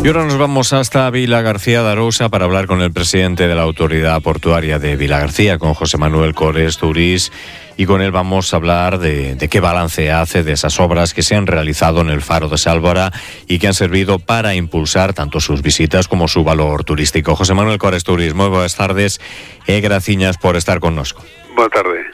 Y ahora nos vamos hasta Vilagarcía de Arousa para hablar con el presidente de la Autoridad Portuaria de Vilagarcía, con José Manuel Cores Tourís, y con él vamos a hablar de qué balance hace de esas obras que se han realizado en el Faro de Sálvora y que han servido para impulsar tanto sus visitas como su valor turístico. José Manuel Cores Tourís, moi boas tardes e graciñas por estar connosco. Boa tarde.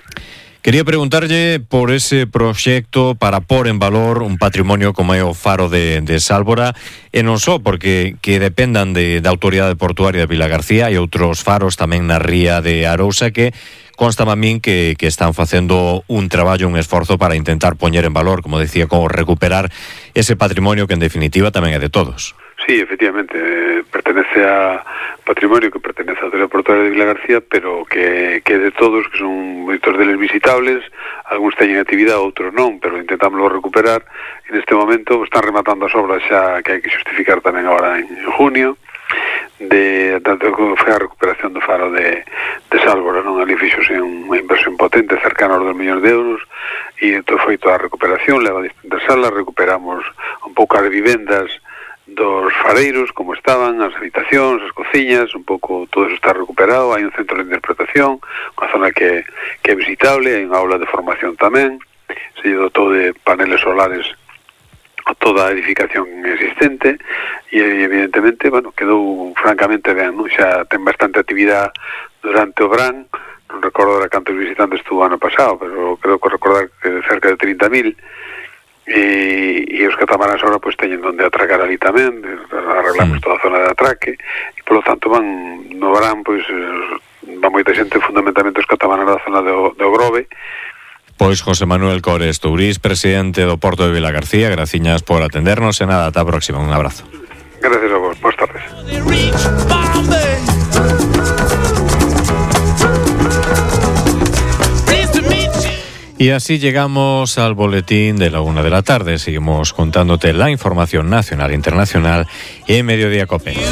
Quería preguntarlle por ese proxecto para pôr en valor un patrimonio como é o Faro de Sálvora, e non só porque que dependan da Autoridade Portuaria de Vilagarcía e outros faros tamén na ría de Arousa que consta a min que están facendo un traballo, un esforzo para intentar poñer en valor, como decía, como recuperar ese patrimonio que en definitiva tamén é de todos. Sí, efectivamente, pertenece a patrimonio que pertenece a Autoridade Portuaria de Vilagarcía, pero que é de todos, que son moitos deles visitables, algúns teñen actividade, outros non, pero intentámoslo recuperar. En este momento están rematando as obras xa que hai que xustificar tamén agora en junio, tanto que foi a recuperación do Faro de Sálvora, non? Ali fixose unha inversión potente, cercana aos 2 millóns de euros, e entón foi toda a recuperación, leva distintas salas, recuperamos un pouco as vivendas dos fareiros, como estaban, as habitacións, as cociñas, un pouco todo eso está recuperado. Hai un centro de interpretación, unha zona que é visitable, hai unha aula de formación tamén, se dotou de paneles solares a toda a edificación existente, e evidentemente, bueno, quedou francamente ben, non? Xa ten bastante actividade durante o verán, non recordo de cantos visitantes estuvo ano pasado, pero creo que recordar que de cerca de 30.000, e os catamaranes agora pois teñen onde atracar ali tamén, arreglamos toda a zona de atraque, e polo tanto no verán pois va moita xente, fundamentalmente os catamaranes da zona do Grove. Pois José Manuel Cores Tourís, presidente do Porto de Vilagarcía, graciñas por atendernos e nada, ata a próxima, un abrazo. Gracias a vos, boas tardes. Y así llegamos al boletín de la 1 de la tarde. Seguimos contándote la información nacional e internacional en Mediodía COPE.